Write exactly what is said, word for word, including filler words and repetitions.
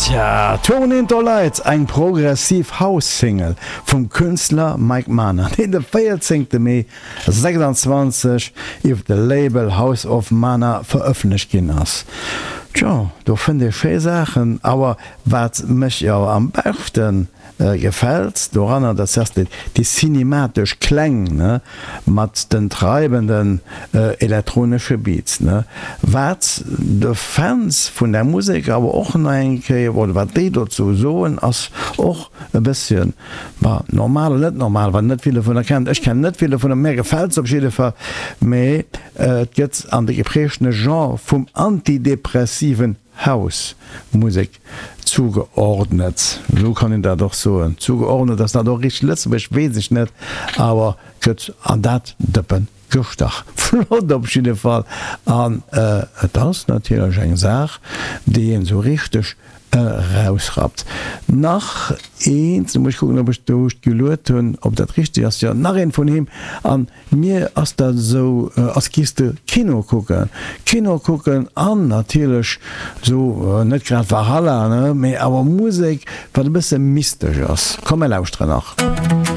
Tja, Turn Into Lights, eng progressiv House-Single vum Künstler Mike Mana, deen de véierzéngte Mee sechsanzwanzeg iwwer de Label House of Mana verëffentlecht ginn ass. Tjo, do fënnt ee schéi Saachen, awer wat mech jo am beschten gefält doranner, dat ass déi cinematesch Kläng, ne, mat den treibenden elektronesche Beats, ne, wat de Fans vun där Musek awer och nach eng Kéier, oder wat déi dozou soen, ass och e bësschen, ma normal oder net normal, wat net vill dovunner kennt. Ech kennen net vill dovunner, mär gefält se op jidde Fall, mee et gëtt an de geprägtene Genre vum antidepressiven House Musek zugeordnet, esou kann een dat och soen. Zugeordnet, ass dat och richteg Lëtzebuergesch, weess ech net, awer gëtt an dat Dëppen gestach. Flott op jidde Fall an et ass natierlech eng Saach, déi een esou richteg erausrappt. Nach eent, lo muss ech kucken, ob ech do geluet hunn, ob dat richteg ass, jo, nach eent vun him an mir ass dat esou, als giss de Kino kucken. Kino kucken an natierlech esou, net grad Valhalla, ne, mee awer Musek, wat e bësse mystesch ass. Komm, mir lauschteren nach.